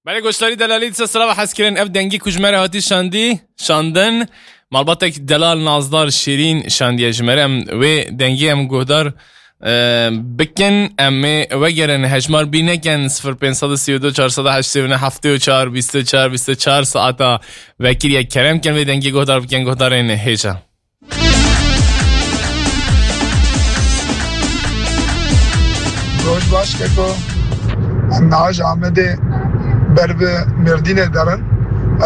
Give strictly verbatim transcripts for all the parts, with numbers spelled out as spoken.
Belê goşdarî delalî dise sira ve hez kirin. Ev dengî ku ji me re hatî şandî, şandin. Malbatek delal Nazdar Şîrîn şandiye ji me re. Em wê dengî em guhdar, e, bikin. Em ê vegerin hejmar bî nekin. Sifir pênc sed û sî û du çar sed û heştê û neh heftê û çar bîst û çar bîst û çar saeta vekiriye. Kerem kin vê dengî guhdar bikin. Guhdarên hêja. Roj baş keko. Em niha ji Amedê ber bi Mêrdînê derin.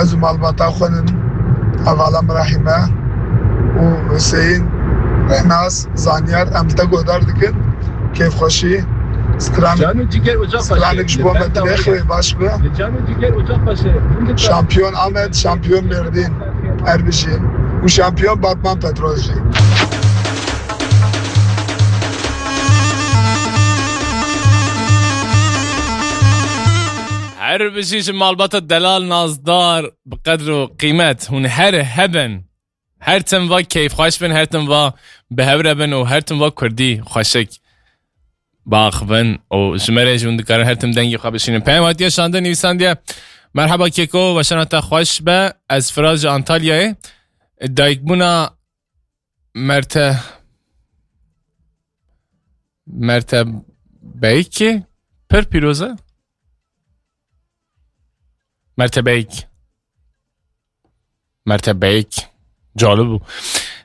Ez û malbata xwe nin. Hevala min Rehîme û Huseyîn, Rênas, Zanyar, em te guhdar dikin. Kêfxweşî. Stran, Cano ciger ocak stranek ji bo me dilê xwe baş be. Cano ciger ocak başı. Şampiyon Amed, şampiyon Mêrdîn. Her bijî. Û şampiyon Batman Petrol jî. Her bijî ji malbata delal nazdar bi qedr û qîmet. Hûn her hebin. Her tim va keyfxweş bin, her tim va bi hev re bin û her tim va kurdî xweşik baxivin û ji me re jî hûn dikarin her tim dengê xwe bişînin. Peyam hatiye şandin, nivîsandiye. Merheba Keko, weşana te xweş be. Ez Firaz ji Antalyayê. Dayikbûna Merte, Merte Beyki pir pîroz e. Merte Beyk. Merte Beyk. Calib bû.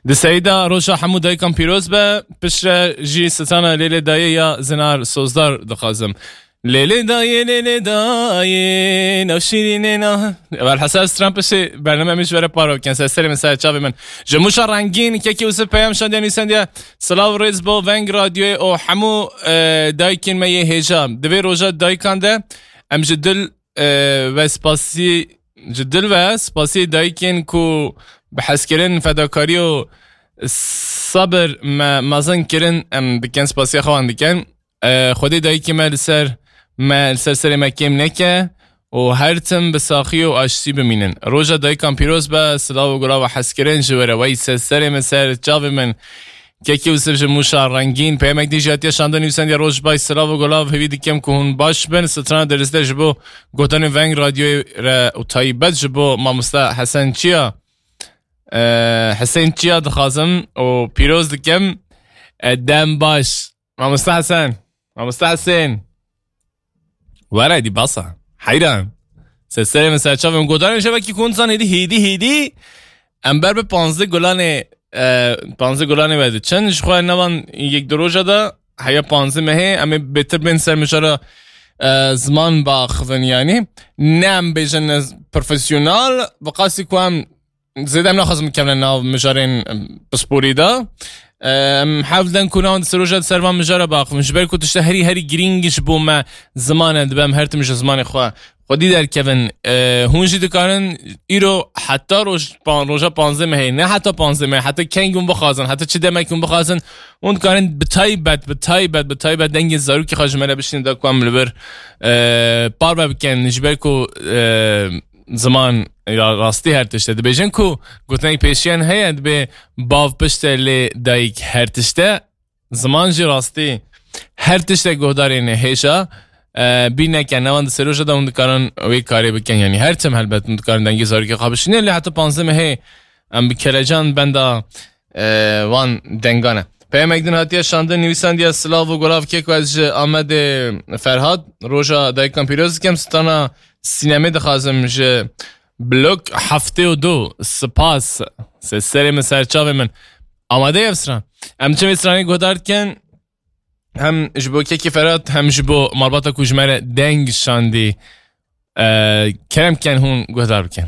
Di serî de roja hemû dayikan pîroz be. Piştre jî strana Lêlê Dayê ya Zinar Sozdar dixwazim. Lêlê Dayê, Lêlê Dayê, nav şîrînê na. Welhasel stran piştî bername min ji we re parve bikin. Ser serê min, ser çavê min. Ji Mûşa Rengîn, Kekî Usif peyam şandiye nivîsandiye. Silav rêz bo Veng Radyoyê û hemû, e, dayikên me yê hêja. Di vê roja dayikan de em ji dil e, ve spasî, ji dil ve spasî dayikên ku bi hezkirin, fedakarî û sabir me mezin kirin, em dikin, spasiya xwe wan dikin. E, Xwedê dayikê me li ser, me li ser serê me kêm neke û her tim bi saxî û aştî bimînin. Roja dayikan pîroz be, silav û gulav û hezkirin ji we re, wey ser serê min, ser çavê min. Kekî Usif ji Mûşa Rengîn. Peyamek din jî hatiye şandin, nivîsandiye: Roj baş, silav û gulav, hêvî dikim ku hûn baş bin. Strana Derîs de ji bo gotanê Veng Radyoyê re û taybet ji bo mamoste Hesen Çiya, e, Hesên Çiya dixwazim û pîroz dikim. E, dem baş. Mamoste Hesen. Mamoste Hesên. Were dî basa. Heyran. Ser serê min, ser çavê min. Godarên şevekî ku hûn zanî hêdî, hêdî, hêdî. Em ber bi panzdeh gulanê, e, panzdeh gulanê ve diçin. Ji xwe nevan yek du roja de heya panzdeh mehê. Em ê bêtir bên ser mijara, e, ziman baxivin yanî. Ne em bêjin profesyonel, bi qasî ku em zêde em naxwazin bikevine nav mijarên, em, pisporî de. Em, hewl den ku navên di ser roja di ser van mijara baxivin. Ji ber ku tişta herî, herî girîng ji bo me ziman e, dibe em her tim ji zimanê xwe xwedî derkevin. E, hûn jî dikarin îro heta roj, pan-, roja panzdeh mehê, ne heta panzdeh mehê, heta keng hûn bixwazin, heta çi demek hûn bixwazin, hûn dikarin bi taybet, bi taybet, bi taybet dengê zarokê xwe ji me re bişînin da ku em li vir, e, parve bikin. Ji ber ku, e, ziman ya rastî her tişt e. Dibêjin ku gotinek pêşiyan heye, dibê bav pişt e lê dayik her tişt e. Ziman jî rastî her tişt e, guhdarên hêja, e, bîr neke, nevan di seroja de hûn dikarin wê karê bikin. Yanî her tim helbet hûn dikarin dengê zarokê xwe bişînin. Lê heta panzdeh mehê em bi kelecan benda, e, van dengan e. Peyamek din hatiye şandin, nivîsandiye: Silav û gulav keko, ez ji Amedê Ferhat. Roja dayikan pîroz dikim. Strana Sînemê dixwazim ji blok heftê û du. Spas. Se-, serê min, ser çavê min. Amade ye ev stran. Em çi vê stranê guhdar dikin? Hem ji bo Kekî Ferhat, hem ji bo malbata ku ji me re deng şandî. E, kerem ken hûn guhdar bikin.